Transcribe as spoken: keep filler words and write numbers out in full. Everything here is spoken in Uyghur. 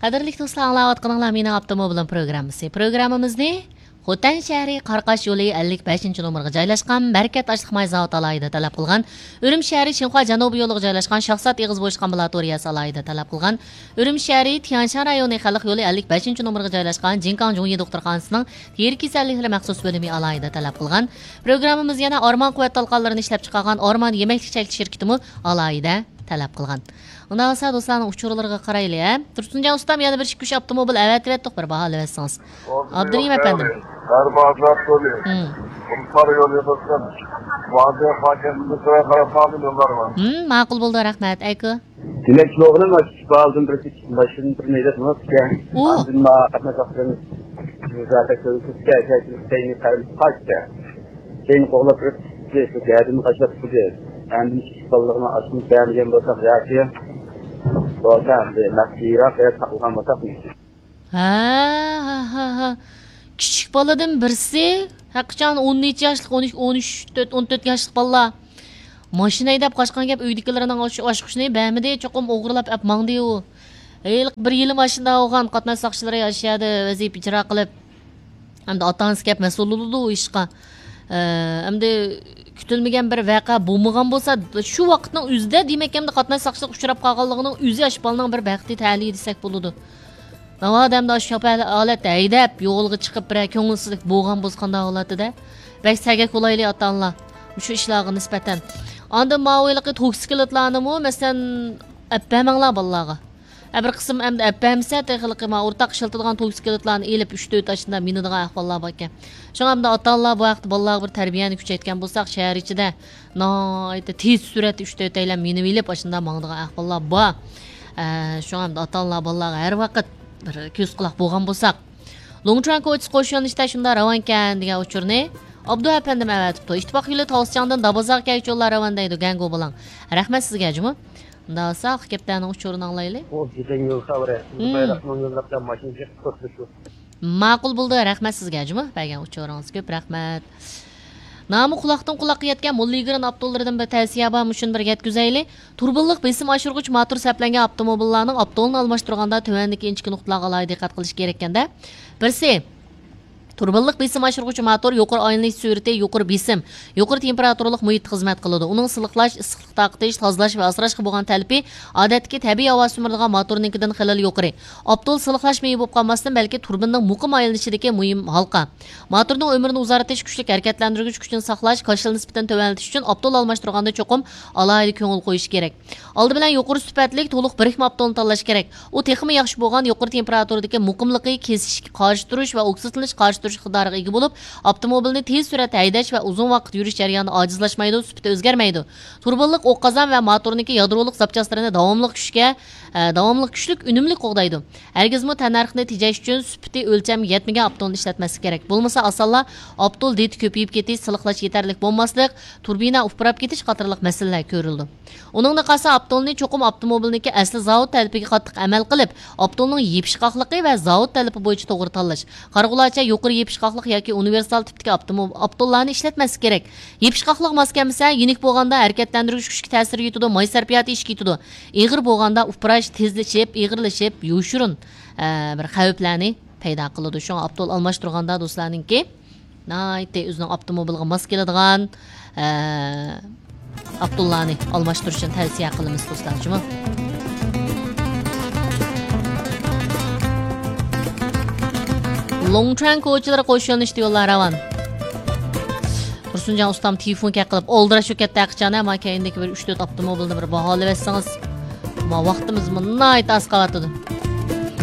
قەدىرلىك دوستلار، ئاڭلاۋاتقىنىڭلار مېنىڭ ئاپتوموبىلىم پروگراممىسى. پروگراممىمىزنى خوتەن شەھىرى قاراقاش يولى ئەللىك بەشىنچى نومۇرغا جايلاشقان بەرىكەت ئاشلىق ماي زاۋۇتى ئالاھىدە تەلەپ قىلغان، ئۈرۈمچى شەھىرى شىنخۇا جەنۇبىي يولىغا جايلاشقان شاھزات ئېغىز بويۇشقان لابوراتورىيەسى ئالاھىدە تەلەپ قىلغان، ئۈرۈمچى شەھىرى تيەنشان رايونى خەلق يولى ئەللىك بەشىنچى نومۇرغا جايلاشقان جىنكاڭ جۇڭيى دوختۇرخانىسىنىڭ تېرە كېسەللىكلىرى مەخسۇس بۆلۈمى ئالاھىدە تەلەپ قىلغان. پروگراممىمىز يەنە ئارمان قۇۋۋەت تالقانلىرىنى ئىشلەپچىقارغان ئارمان يېمەكلىك چەكلىك شىركىتىمۇ ئالاھىدە تەلەپ قىلغان. ئۇنداق بولسا دوستلارنىڭ ئۇچۇرلىرىغا قارايلى، ھە؟ تۇرسۇنجان ئۇستام، يەنە بىر ئىككى ئۈچ ئاپتوموبىل ئەۋەتىۋەتتۇق، بىر باھالىۋەتسىڭىز. ئابدۇرېھىم ئەپەندىم. بەربازات يولى. مم. قۇمسار يولى بولسۇن. ۋاڭجې خاكەنتىدىن سىلەر قاراپ قالدىم يوللارغا. مم، ماقۇل بولدى، رەھمەت. ئەيكۇ. دېمەك، شۇلارغىنىم ئاشۇ بالدىن بىر ماشىنىدىن بىر نەيدەپ ماڭىپتىكەن. ئۇ. ئاندىن ما قاتناش ۋاقتىدىن زاكاز كۆرسىتىپتىكەن، كەينى قاچتى. كېيىن قوغلاپ ئۆتۈپ، شۇ گەدىنى قاچىلاپ تۇردى. ئاندىن ئىككى بالىلىقنى ئاشۇنى بەرمىگەن بولساق ياكى بولسا ئەمدى مەخپىيراق يەردە ساقلىغان بولساق مۇمكىن. ھە، ھە، ھە، ھە. كىچىك بالىدىن بىرسى، ھەقىچان ئون نەچچە ياشلىق، ئون ئۈچ، ئون ئۈچ، تۆت، ئون تۆت ياشلىق بالىلار. ماشىنا ھەيدەپ قاچقان گەپ، ئۆيدىكىلىرىنىڭ ئاچ-، ئاچقۇچىنى بەرمىدى، چوقۇم ئوغرىلاپ ئەپ ماڭدى ئۇ. ھېلىقى بىر يىلى ماشىنا ئالغان، قاتناش ساقچىلىرى ئاشۇ يەردە ۋەزىپە ئىجرا قىلىپ. ئەمدى ئاتا-ئانىسى كەپ مەسئۇل بولىدۇ ئۇ ئىشقا. ئە، ئەمدى كۈتۈلمىگەن بىر ۋەقە بولمىغان بولسا، شۇ ۋاقىتنىڭ ئۆزىدە دېمەك، ئەمدى قاتناش ساقچىلىققا ئۇچراپ قالغانلىقىنىڭ ئۆزى ئاشۇ بالىنىڭ بىر بەختى تەلىيى دېسەك بولىدۇ. ناۋادا ئەمدى ئاشۇ ھالەتتە ھەيدەپ، يولغا چىقىپ بىرەر كۆڭۈلسىزلىك بولغان بولسا قانداق بولاتتى-دە؟ بەك سەگەك بولايلى ئاتا-ئانىلار مۇشۇ ئىشلارغا نىسبەتەن. ئاندىن ماۋۇ ھېلىقى توكسىكلىتلارنىمۇ، مەسىلەن، ئەپ بەرمەڭلار بالىلارغا. ھە، بىر قىسىم ئەمدى ئەپ بەرمىسە، تېخى ھېلىقى ما ئورتاق ئىشلىتىدىغان توكسىكلىتلارنى ئېلىپ، ئۈچ تۆت ئاشۇنداق مىنىدىغان ئەھۋاللار باركەن. شۇڭا ئەمدى ئاتا-ئانىلار بۇ ھەقتە بالىلارغا بىر تەربىيەنى كۈچەيتكەن بولساق، شەھەر ئىچىدە ناھايىتى تېز سۈرئەتتە ئۈچ تۆتەيلەن مىنىۋېلىپ، ئاشۇنداق ماڭىدىغان ئەھۋاللار بار. ئە، شۇڭا ئەمدى ئاتا-ئانىلار بالىلارغا ھەر ۋاقىت بىر كۆز-قۇلاق بولغان بولساق. لۇڭچۇەن كوچىسى قوش يۆنىلىشتە شۇنداق راۋانكەن دېگەن ئۇچۇرنى ئابدۇ ئەپەندىم ئەۋەتىپتۇ. ئىتتىپاق يولى تاۋسىچاڭدىن دابازاغا كەلگۈچى يوللار راۋان دەيدۇ، گەنگۇ بۇلاڭ. رەھمەت سىزگە جۇمۇ. ئۇنداق بولسا ئاخىرقى ھەپتىنىڭ ئۇچۇرىنى ئاڭلايلى. ئۇ گېجەڭ يول خەۋىرى. مم. بايراقنىڭ يوللاردا ماشىنا جىق توسۇلۇشۇ. ماقۇل بولدى، رەھمەت سىزگە جۇمۇ، بەرگەن ئۇچۇرىڭىزغا كۆپ رەھمەت. نامى قۇلاقتىن قۇلاققا يەتكەن موللا ئىگىرىن ئاپتوللىرىدىن بىر تەۋسىيە بار، مۇشۇنى بىر يەتكۈزەيلى. تۇربىنلىق بېسىم ئاشۇرغۇچ ماتور سەپلەنگەن ئاپتوموبىللارنىڭ ئاپتولنى ئالماشتۇرغاندا تۆۋەندىكى ئىنچىكە نۇقتىلارغا ئالاھىدە دىققەت قىلىش كېرەككەندە، بىرسى، تۇربىنلىق بېسىم ئاشۇرغۇچ ماتور يۇقىرى ئايلىنىش سۈرئىتى، يۇقىرى بېسىم، يۇقىرى تېمپېراتۇرىلىق مۇھىتتا خىزمەت قىلىدۇ. ئۇنىڭ سىلىقلاش، ئىسسىقلىق تارقىتىش، تازىلاش ۋە ئاسراشقا بولغان تەلىپى ئادەتتىكى تەبىئىي ھاۋا سۈمۈرىدىغان ماتورنىڭكىدىن خېلىلا يۇقىرى. ئاپتول سىلىقلاش مېيى بولۇپ قالماستىن، بەلكى تۇربىنىنىڭ مۇقىم ئايلىنىشىدىكى مۇھىم ھالقا. ماتورنىڭ ئۆمرىنى ئۇزارتىش، كۈچلۈك ھەرىكەتلەندۈرگۈچ كۈچىنى ساقلاش، كاشىلا نىسبىتىنى تۆۋەنلىتىش ئۈچۈن ئاپتول ئالماشتۇرغاندا چوقۇم ئالاھىدە كۆڭۈل قويۇش كېرەك. ئالدى بىلەن يۇقىرى سۈپەتلىك، تولۇق بىرىكمە ئاپتولنى تاللاش كېرەك. ئۇ تېخىمۇ ياخشى بولغان يۇقىرى تېمپېراتۇرىدىكى مۇقىملىقى، كېسىشكە قارشى تۇرۇش ۋە ئوكسىدلىنىشقا قارشى تۇرۇش ئىقتىدارىغا ئىگە بولۇپ، ئاپتوموبىلنى تېز سۈرئەتتە ھەيدەش ۋە ئۇزۇن ۋاقىت يۈرۈش جەريانىدا ئاجىزلاشمايدۇ، سۈپىتى ئۆزگەرمەيدۇ. تۇربىنلىق ئوق قازان ۋە ماتورنىڭكى يادرولۇق زاپچاسلىرىنى داۋاملىق كۈچكە، ئە، داۋاملىق كۈچلۈك، ئۈنۈملۈك قوغدايدۇ. ھەرگىزمۇ تەننەرخنى تېجەش ئۈچۈن سۈپىتى ئۆلچەمگە يەتمىگەن ئاپتولنى ئىشلەتمەسلىك كېرەك. بولمىسا ئاسانلا ئاپتول دېتى كۆپىيىپ كېتىش، سىلىقلاش يېتەرلىك بولماسلىق، تۇربىنا ئۇپراپ كېتىش قاتارلىق مەسىلىلەر كۆرۈلىدۇ. ئۇنىڭدىن قالسا ئاپتولنى چوقۇم ئاپتوموبىلنىڭكى ئەسلى زاۋۇت تەلىپىگە قاتتىق ئەمەل قىلىپ، ئاپتولنىڭ يېپىشقاقلىقى ۋە زاۋۇت تەلىپى بويىچە توغرا تاللاش. قارىغۇلارچە يۇقىرى يېپىشقاقلىق ياكى ئۇنىۋېرسال تىپتىكى ئاپتوموب-، ئاپتوللارنى ئىشلەتمەسلىك كېرەك. يېپىشقاقلىق ماس كەلمىسە، يېنىك بولغاندا ھەرىكەتلەندۈرگۈچ كۈچكە تەسىر يېتىدۇ، ماي سەرپىياتى ئېشىپ كېتىدۇ. ئېغىر بولغاندا ئۇپراش تېزلىشىپ، ئېغىرلىشىپ، يوشۇرۇن، ئە، بىر خەۋپلەرنى پەيدا قىلىدۇ. شۇڭا ئاپتول ئالماشتۇرغاندا دوستلارنىڭكى ناھايىتى ئۆزىنىڭ ئاپتوموبىلىغا ماس كېلىدىغان، ئە، ئاپتوللارنى ئالماشتۇرۇشنى تەۋسىيە قىلىمىز دوستلار جۇمۇ. لوڭچۈەن كوچىلىرى قوش يۆنىلىشتە يوللار راۋان. تۇرسۇنجان ئۇستام تېلېفون كەت قىلىپ ئالدىراش بولۇپ كەتتى ھەقىچان، ئەمما كەينىدىكى بىر ئۈچ تۆت ئاپتوموبىلنى بىر باھالىۋەتسىڭىز. ما ۋاقتىمىزمۇ ناھايىتى ئاز قالىۋاتىدۇ.